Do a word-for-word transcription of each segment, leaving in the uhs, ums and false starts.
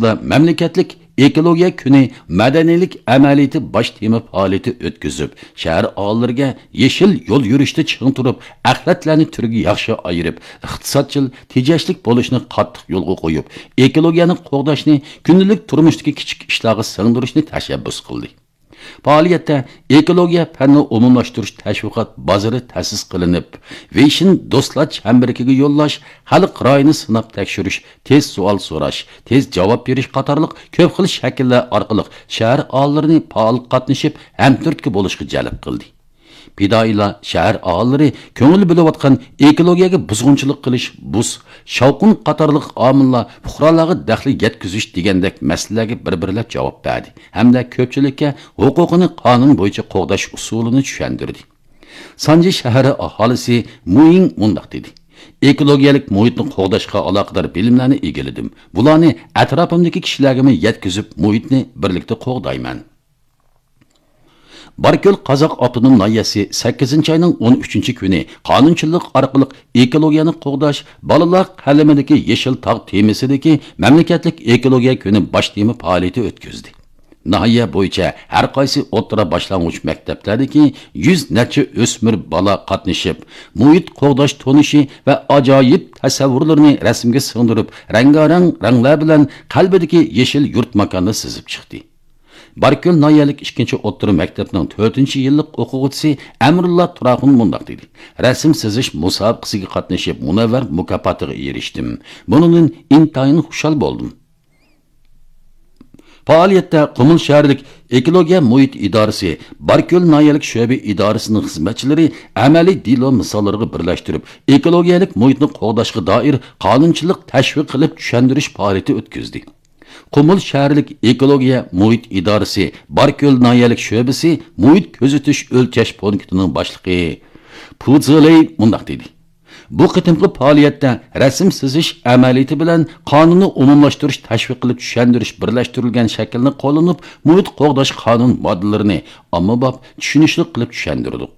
مەملىكەتلىك ئېكولوگىيە كۈنى مەدەنىيلىك ئەمەلىيىتى باش تېما پائالىيىتى ئۆتكۈزۈپ، شەھەر ئاھالىلىرىگە يېشىل يول يۈرۈشتە چىڭ تۇرۇپ، ئەخلەتلەرنى تۈرگە ياخشى ئايرىپ، ئىقتىسادچىل، تېجەشلىك بولۇشنى قاتتىق يولغا قويۇپ، ئېكولوگىيەنى قوغداشنى كۈندىلىك تۇرمۇشتىكى كىچىك ئىشلارغا سىڭدۈرۈشنى تەشەببۇس قىلدى. پائالىيەتتە ئېكولوگىيە پەننى ئومۇملاشتۇرۇش تەشۋىقات بازىرى تەسىس قىلىنىپ، ۋېيشىن دوستلار چەمبىرىكىگە يوللاش، خەلق رايىنى سىناپ تەكشۈرۈش، تېز سوئال سوراش، تېز جاۋاب بېرىش قاتارلىق كۆپ خىل شەكىللەر ئارقىلىق شەھەر ئاھالىلىرىنى پائال قاتنىشىپ، ھەمتۈرتكە بولۇشقا جەلپ قىلدى. پىدائىيلار شەھەر ئاھالىلىرى كۆڭۈل بۆلۈۋاتقان ئېكولوگىيەگە بۇزغۇنچىلىق قىلىش، بۇز، شاۋقۇن قاتارلىق ئامىللار پۇقرالارغا دەخلى يەتكۈزۈش دېگەندەك مەسىلىلەرگە بىر-بىرلەپ جاۋاب بەردى ھەمدە كۆپچىلىككە ھوقۇقىنى قانۇن بويىچە قوغداش ئۇسۇلىنى چۈشەندۈردى. سانجى شەھىرى ئاھالىسى مۇيىڭ مۇنداق دېدى: ئېكولوگىيەلىك مۇھىتنى قوغداشقا ئالاقىدار بىلىملەرنى ئىگىلىدىم. بۇلارنى ئەتراپىمدىكى كىشىلەرگىمۇ يەتكۈزۈپ، مۇھىتنى بىرلىكتە قوغدايمەن. باركۆل قازاق ئاپتونوم ناھىيەسى سەككىزىنچى ئاينىڭ ئون ئۈچىنچى كۈنى قانۇنچىلىق ئارقىلىق ئېكولوگىيەنى قوغداش، بالىلار قەلىمىدىكى يېشىل تاغ تېمىسىدىكى مەملىكەتلىك ئېكولوگىيە كۈنى باش تېما پائالىيىتى ئۆتكۈزدى. ناھىيە بويىچە ھەر قايسى ئوتتۇرا باشلانغۇچ مەكتەپلەردىكى يۈز نەچچە ئۆسمۈر بالا قاتنىشىپ، مۇھىت قوغداش تونۇشى ۋە ئاجايىپ تەسەۋۋۇرلىرىنى رەسىمگە سىڭدۈرۈپ، رەڭگارەڭ رەڭلەر بىلەن قەلبىدىكى يېشىل يۇرت ماكاننى سىزىپ چىقتى. باركۆل ناھىيەلىك ئىككىنچى ئوتتۇرا مەكتەپنىڭ تۆتىنچى يىللىق ئوقۇغۇچىسى ئەمرۇللا تۇراخۇن مۇنداق دېدى: رەسىم سىزىش مۇسابىقىسىگە قاتنىشىپ، مۇنەۋۋەر مۇكاپاتىغا ئېرىشتىم. بۇنىڭدىن ئىنتايىن خۇشال بولدۇم. پائالىيەتتە قۇمۇل شەھەرلىك ئېكولوگىيە مۇھىت ئىدارىسى، باركۆل ناھىيەلىك شۆبە ئىدارىسىنىڭ خىزمەتچىلىرى ئەمەلىي دېلو مىساللىرىغا بىرلەشتۈرۈپ، ئېكولوگىيەلىك مۇھىتنى قوغداشقا دائىر قانۇنچىلىق تەشۋىق قىلىپ چۈشەندۈرۈش پائالىيىتى ئۆتكۈزدى. قۇمۇل شەھەرلىك ئېكولوگىيە مۇھىت ئىدارىسى باركۆل ناھىيەلىك شۆبىسى مۇھىت كۆزىتىش ئۆلچەش پونكىتىنىڭ باشلىقى پۇ زېلېي مۇنداق دېدى: بۇ قېتىمقى پائالىيەتتە رەسىم سىزىش ئەمەلىيىتى بىلەن قانۇننى ئومۇملاشتۇرۇش، تەشۋىق قىلىپ چۈشەندۈرۈش بىرلەشتۈرۈلگەن شەكىلنى قوللىنىپ، مۇھىت قوغداش قانۇن ماددىلىرىنى ئاممىباب، چۈشىنىشلىك قىلىپ چۈشەندۈردۇق.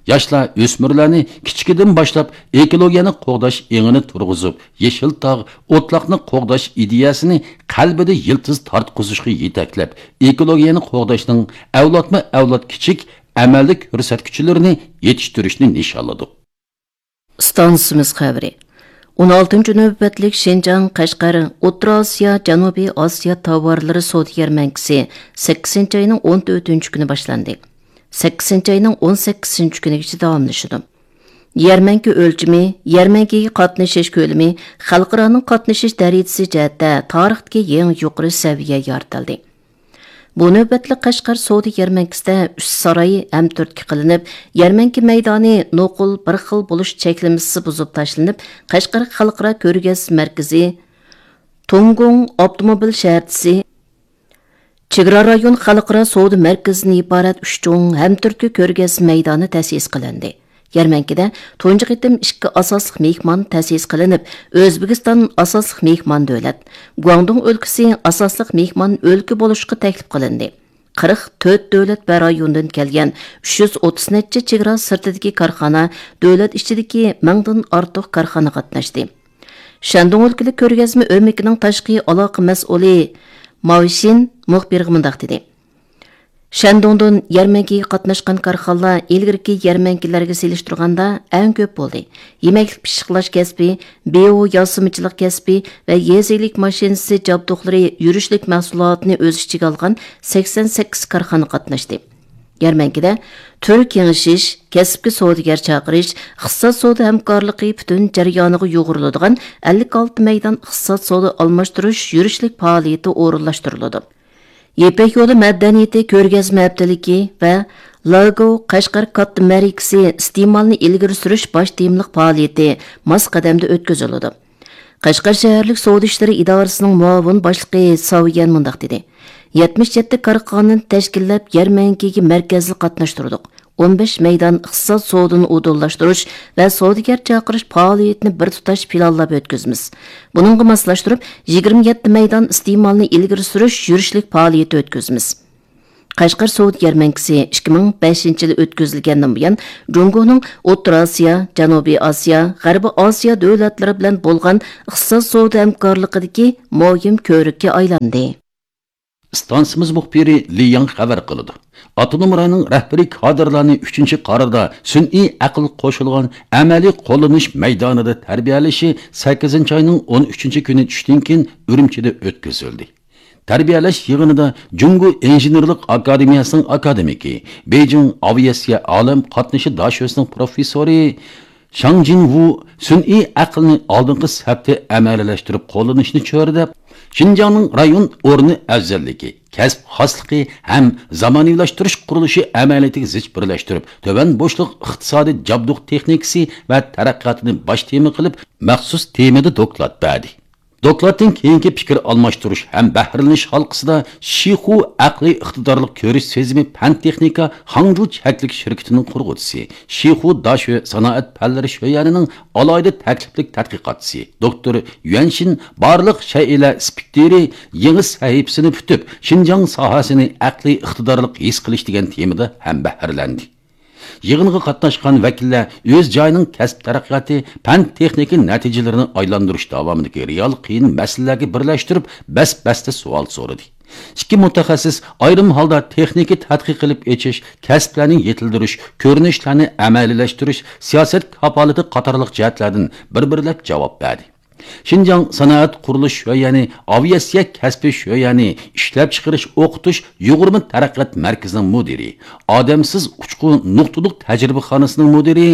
ياشلار، ئۆسمۈرلەرنى كىچىكىدىن باشلاپ ئېكولوگىيەنى قوغداش ئېڭىنى تۇرغۇزۇپ، يېشىل تاغ، ئوتلاقنى قوغداش ئىدىيەسىنى قەلبىدە يىلتىز تارتقۇزۇشقا يېتەكلەپ، ئېكولوگىيەنى قوغداشنىڭ ئەۋلادمۇ ئەۋلاد كىچىك ئەمەلدىك كۆرسەتكۈچلىرىنى يېتىشتۈرۈشنى نىشانلىدۇق. ئىستانسىمىز خەۋىرى. ئون ئالتىنچى نۆۋەتلىك شىنجاڭ، قەشقەر، ئوتتۇرا ئاسىيا، جەنۇبىي ئاسىيا تاۋارلىرى سودا يەرمەنكىسى سەككىزىنچى ئاينىڭ ئون تۆتىنچى كۈنى باشلاندى. سەككىزىنچى ئاينىڭ ئون سەككىزىنچى كۈنىگىچە داۋاملىشىدۇ. يەرمەنكە ئۆلچىمى، يەرمەنكىگە قاتنىشىش كۆلىمى، خەلقئارانىڭ قاتنىشىش دەرىجىسى جەھەتتە تارىختىكى يېڭى يۇقىرى سەۋىيە يارىتىلدى. بۇ نۆۋەتلىك قەشقەر سودا يەرمەنكىسىدە ئۈچ ساراي ھەمتۈرتكە قىلىنىپ، يەرمەنكە مەيدانى نوقۇل بىر خىل بولۇش چەكلىمىسى بۇزۇپ تاشلىنىپ، قەشقەر خەلقئارا كۆرگەزمە مەركىزى، توڭگۇڭ ئاپتوموبىل شەھەرچىسى، چېگرا رايون خەلقئارا سودا مەركىزىدىن ئىبارەت ئۈچ چوڭ ھەمتۈرتكە كۆرگەزمە مەيدانى تەسىس قىلىندى. يەرمەنكىدە تۇنجى قېتىم ئىككى ئاساسلىق مېھمان تەسىس قىلىنىپ، ئۆزبېكىستان ئاساسلىق مېھمان دۆلەت، گۇاڭدۇڭ ئۆلكىسى ئاساسلىق مېھمان ئۆلكە بولۇشقا تەكلىپ قىلىندى. قىرىق تۆت دۆلەت ۋە رايوندىن كەلگەن ئۈچ يۈز ئوتتۇز نەچچە چېگرا سىرتىدىكى كارخانا، دۆلەت ئىچىدىكى مىڭدىن ئارتۇق كارخانا قاتناشتى. شەندۇڭ ئۆلكىلىك كۆرگەزمە ئۆمىكىنىڭ تاشقى ئالاقە مەسئۇلى ماۋشىن مۇخبىرغا مۇنداق دېدى: شەندۇڭدىن يەرمەنكىگە قاتناشقان كارخانىلار ئىلگىرىكى يەرمەنكىلەرگە سېلىشتۇرغاندا ئەڭ كۆپ بولدى. يېمەكلىك پىششىقلاش كەسپى، بىيو ياسىمىچىلىق كەسپى ۋە يېزا ئىگىلىك ماشىنىسى جابدۇقلىرى يۈرۈشلۈك مەھسۇلاتىنى ئۆز ئىچىگە ئالغان سەكسەن سەككىز كارخانا قاتناشتى. يەرمەنكىدە تۈر كېڭىشىش، كەسىپكە سودىگەر چاقىرىش، ئىقتىساد سودا ھەمكارلىقى پۈتۈن جەريانىغا يۇغۇرۇلىدىغان ئەللىك ئالتە مەيدان ئىقتىساد سودا ئالماشتۇرۇش يۈرۈشلۈك پائالىيىتى ئورۇنلاشتۇرۇلىدۇ. يىپەك يولى مەدەنىيىتى كۆرگەزمە ھەپتىلىكى ۋە لاگو قەشقەر كاتتا مەرىكىسى ئىستېمالنى ئىلگىرى سۈرۈش باش تېمىلىق پائالىيىتى ماس قەدەمدە ئۆتكۈزۈلىدۇ. قەشقەر شەھەرلىك سودا ئىشلىرى ئىدارىسىنىڭ مۇئاۋىن باشلىقى ساۋيەن مۇنداق دېدى: يەتمىش يەتتە كارخانىنى تەشكىللەپ، يەرمەنكىگە مەركەزلىك قاتناشتۇردۇق. ئون بەش مەيدان ئىقتىساد سودىنى ئۇدۇللاشتۇرۇش ۋە سودىگەر چاقىرىش پائالىيىتىنى بىر تۇتاش پىلانلاپ ئۆتكۈزىمىز. بۇنىڭغا ماسلاشتۇرۇپ، يىگىرمە يەتتە مەيدان ئىستېمالنى ئىلگىرى سۈرۈش يۈرۈشلۈك پائالىيىتى ئۆتكۈزىمىز. قەشقەر سودا يەرمەنكىسى ئىككى مىڭ بەشىنچى يىلى ئۆتكۈزۈلگەندىن بۇيان، جۇڭگونىڭ ئوتتۇرا ئاسىيا، جەنۇبىي ئاسىيا، غەربىي ئاسىيا دۆلەتلىرى بىلەن بولغان ئىقتىساد سودا ھەمكارلىقىدىكى مۇھىم كۆۋرۈككە ئايلاندى. ئىستانسىمىز مۇخبىرى لى ياڭ خەۋەر قىلىدۇ. ئاپتونوم رايوننىڭ رەھبىرىي كادىرلارنى ئۈچىنچى قاراردا سۈنئىي ئەقىل قوشۇلغان ئەمەلىي قوللىنىش مەيدانىدا تەربىيەلىشى سەككىزىنچى ئاينىڭ ئون ئۈچىنچى كۈنى چۈشتىن كېيىن ئۈرۈمچىدە ئۆتكۈزۈلدى. تەربىيەلەش يىغىنىدا جۇڭگو ئىنژېنېرلىق ئاكادېمىيەسىنىڭ ئاكادېمىكى، بېيجىڭ ئاۋىئاتسىيە ئالەم قاتنىشى داشۆسىنىڭ پروفېسسورى شاڭ جىنۋۇ سۈنئىي ئەقىلنى ئالدىنقى سەپتە ئەمەلىيلەشتۈرۈپ قوللىنىشنى چۆرىدەپ، شىنجاڭنىڭ رايون ئورنى ئەۋزەللىكى، كەسىپ خاسلىقى ھەم زامانىۋىلاشتۇرۇش قۇرۇلۇشى ئەمەلىيىتىگە زىچ بىرلەشتۈرۈپ، تۆۋەن بوشلۇق ئىقتىسادىي جابدۇق تېخنىكىسى ۋە تەرەققىياتىنى باش تېما قىلىپ، مەخسۇس تېمىدا دوكلات بەردى. دوكلاتتىن كېيىنكى پىكىر ئالماشتۇرۇش ھەم بەھرىلىنىش ھالقىسىدا شىخۇ ئەقلىي ئىقتىدارلىق كۆرۈش سېزىمى پەن تېخنىكا خاڭجۇ چەكلىك شىركىتىنىڭ قۇرغۇچىسى، شىخۇ داشۆ سانائەت پەنلىرى شۆيەنىنىڭ ئالاھىدە تەكلىپلىك تەتقىقاتچىسى دوكتور يۈەنشىن بارلىق شەيئىلەر سپېكتىرى يېڭى سەھىپىسىنى پۈتۈپ، شىنجاڭ ساھەسىنى ئەقلىي ئىقتىدارلىق ھېس قىلىش دېگەن تېمىدا ھەمبەھىرلەندى. يىغىنغا قاتناشقان ۋەكىللەر ئۆز جايىنىڭ كەسىپ تەرەققىياتى، پەن تېخنىكا نەتىجىلىرىنى ئايلاندۇرۇش داۋامىدىكى رېئال قىيىن مەسىلىلەرگە بىرلەشتۈرۈپ، بەس-بەستە سوئال سورىدى. ئىككى مۇتەخەسسىس ئايرىم ھالدا تېخنىكا تەتقىق قىلىپ ئېچىش، كەسىپلەرنى يېتىلدۈرۈش، كۆرۈنۈشلەرنى ئەمەلىيلەشتۈرۈش، سىياسەت كاپالىتى قاتارلىق جەھەتلەردىن بىر-بىرلەپ جاۋاب بەردى. شىنجاڭ سانائەت قۇرۇلۇش شۆيەنى، ئاۋىئاتسىيە كەسپى شۆيەنى، ئىشلەپچىقىرىش ئوقۇتۇش يۇغۇرما تەرەققىيات مەركىزىنىڭ مۇدىرى، ئادەمسىز ئۇچقۇ نۇقتىلىق تەجرىبىخانىسىنىڭ مۇدىرى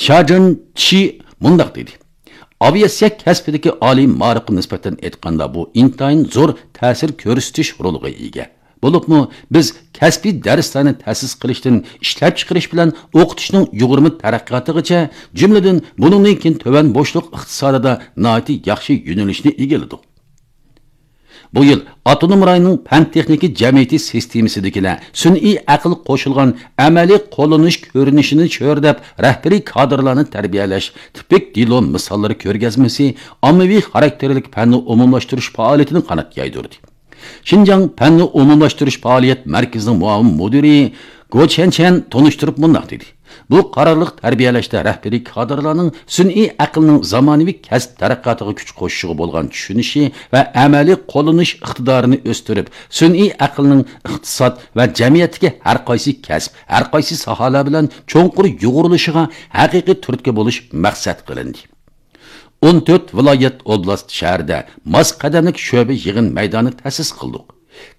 شاجېن چى مۇنداق دېدى: ئاۋىئاتسىيە كەسپىدىكى ئالىي مائارىپقا نىسبەتەن ئېيتقاندا، بۇ ئىنتايىن زور تەسىر كۆرسىتىش رولىغا ئىگە. بولۇپمۇ بىز كەسپىي دەرسلەرنى تەسىس قىلىشتىن ئىشلەپچىقىرىش بىلەن ئوقۇتۇشنىڭ يۇغۇرما تەرەققىياتىغىچە، جۈملىدىن بۇنىڭدىن كېيىن تۆۋەن بوشلۇق ئىقتىسادىدا ناھايىتى ياخشى يۆنىلىشنى ئىگىلىدۇق. بۇ يىل ئاپتونوم رايوننىڭ پەن تېخنىكا جەمئىيىتى سىستېمىسىدىكىلەر سۈنئىي ئەقىل قوشۇلغان ئەمەلىي قوللىنىش كۆرۈنۈشىنى چۆرىدەپ، رەھبىرىي كادىرلارنى تەربىيەلەش تىپىك دېلو مىساللىرى كۆرگەزمىسى ئاممىۋى خاراكتېرلىك پەننى ئومۇملاشتۇرۇش پائالىيىتىنى قانات يايدۇردى. شىنجاڭ پەننى ئومۇملاشتۇرۇش پائالىيەت مەركىزىنىڭ مۇئاۋىن مۇدىرى گو چيەنچيەن تونۇشتۇرۇپ مۇنداق دېدى: بۇ قارارلىق تەربىيەلەشتە رەھبىرىي كادىرلارنىڭ سۈنئىي ئەقىلنىڭ زامانىۋى كەسىپ تەرەققىياتىغا كۈچ قوشۇشىغا بولغان چۈشىنىشى ۋە ئەمەلىي قوللىنىش ئىقتىدارىنى ئۆستۈرۈپ، سۈنئىي ئەقىلنىڭ ئىقتىساد ۋە جەمئىيەتتىكى ھەر قايسى كەسىپ، ھەر قايسى ساھەلەر بىلەن چوڭقۇر يۇغۇرۇلۇشىغا ھەقىقىي تۈرتكە بولۇش مەقسەت قىلىندى. ئون تۆت ۋىلايەت، ئوبلاست، شەھەردە ماس قەدەملىك شۆبە يىغىن مەيدانى تەسىس قىلدۇق.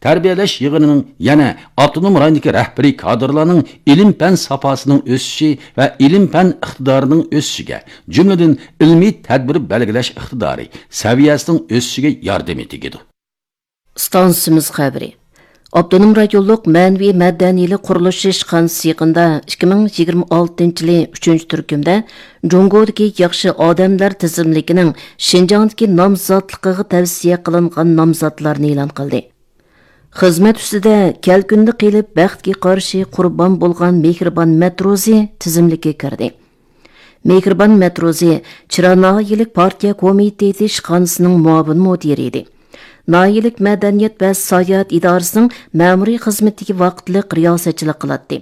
تەربىيەلەش يىغىنىنىڭ يەنە ئاپتونوم رايوندىكى رەھبىرىي كادىرلارنىڭ ئىلىم-پەن ساپاسىنىڭ ئۆسۈشى ۋە ئىلىم-پەن ئىقتىدارىنىڭ ئۆسۈشىگە، جۈملىدىن ئىلمىي تەدبىر بەلگىلەش ئىقتىدارى سەۋىيەسىنىڭ ئۆسۈشىگە ياردىمى تېگىدۇ. ئىستانسىمىز خەۋىرى. ئاپتونوم رايونلۇق مەنىۋى مەدەنىيلىك قۇرۇلۇش ئىشخانىسى يېقىندا ئىككى مىڭ يىگىرمە ئالتىنچى يىلى ئۈچىنچى تۈركۈمدە جۇڭگودىكى ياخشى ئادەملەر تىزىملىكىنىڭ شىنجاڭدىكى نامزاتلىقىغا تەۋسىيە قىلىنغان نامزاتلارنى ئېلان قىلدى. خىزمەت ئۈستىدە كەلكۈندە قېلىپ، بەختكە قارشى قۇربان بولغان مېھرىبان مەتروزى تىزىملىككە كىردى. مېھرىبان مەتروزى چىرا ناھىيەلىك پارتىيە كومىتېتى ئىشخانىسىنىڭ مۇئاۋىن مۇدىرى ئىدى. ناھىيەلىك مەدەنىيەت ۋە ساياھەت ئىدارىسىنىڭ مەمۇرىي خىزمىتىگە ۋاقىتلىق رىياسەتچىلىك قىلاتتى.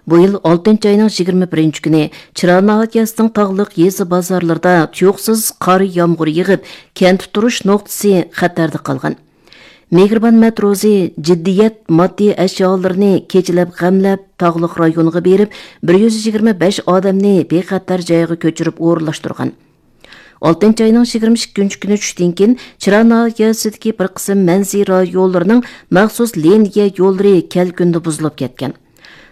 بۇ يىل ئالتىنچى ئاينىڭ يىگىرمە بىرىنچى كۈنى چىرا ناھىيەسىنىڭ تاغلىق يېزا بازارلىرىدا تۇيۇقسىز قار يامغۇر يېغىپ، كەنتتە تۇرۇش نۇقتىسى خەتەردە قالغان. مېھرىبان مەتروزى جىددىيەت ماددىي ئەشيالىرىنى كېچىلەپ غەملەپ، تاغلىق رايونغا بېرىپ، بىر يۈز يىگىرمە بەش ئادەمنى بىخەتەر جايغا كۆچۈرۈپ ئورۇنلاشتۇرغان. ئالتىنچى ئاينىڭ يىگىرمە ئىككىنچى كۈنى چۈشتىن كېيىن، چىرا ناھىيەسىدىكى بىر قىسىم مەنزىرە رايونلىرىنىڭ مەخسۇس لىنىيە يوللىرى كەلكۈندە بۇزۇلۇپ كەتكەن.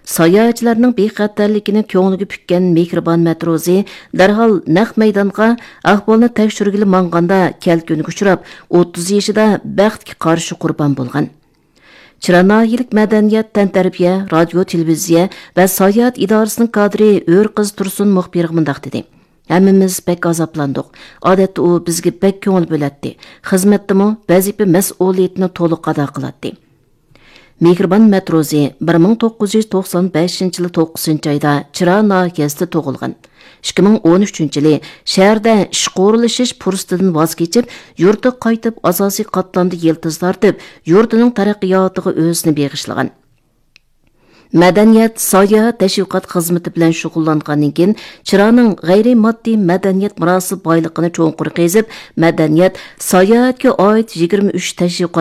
ساياھەتچىلەرنىڭ بىخەتەرلىكىنى كۆڭلىگە پۈككەن مېھرىبان مەتروزى دەرھال نەق مەيدانغا ئەھۋالنى تەكشۈرگىلى ماڭغاندا، كەلكۈنگە ئۇچراپ، ئوتتۇز يېشىدا بەختكە قارشى قۇربان بولغان. چىرا ناھىيەلىك مەدەنىيەت، تەنتەربىيە، رادىيو، تېلېۋىزىيە ۋە ساياھەت ئىدارىسىنىڭ كادىرى ئۆرقىز تۇرسۇن مۇخبىرغا مۇنداق دېدى: «ھەممىمىز بەك ئازابلاندۇق. ئادەتتە ئۇ بىزگە بەك كۆڭۈل بۆلەتتى. خىزمەتتىمۇ ۋەزىپە مەسئۇلىيىتىنى تولۇق ئادا قىلاتتى.» مېھرىبان مەتروزى بىر مىڭ توققۇز يۈز توقسان بەشىنچى يىلى توققۇزىنچى ئايدا چىرا ناھىيەسىدە تۇغۇلغان. ئىككى مىڭ ئون ئۈچىنچى يىلى شەھەردە ئىشقا ئورۇنلىشىش پۇرسىتىدىن ۋاز كېچىپ، يۇرتىغا قايتىپ، ئاساسىي قاتلامدا يىلتىز تارتىپ، يۇرتىنىڭ تەرەققىياتىغا ئۆزىنى بېغىشلىغان. مەدەنىيەت، ساياھەت، تەشۋىقات خىزمىتى بىلەن شۇغۇللانغاندىن كېيىن، چىراغنىڭ غەيرىي ماددىي مەدەنىيەت مىراسى بايلىقىنى چوڭقۇر قېزىپ، مەدەنىيەت، ساياھەتكە ئائىت يىگىرمە ئۈچ تەشۋىقات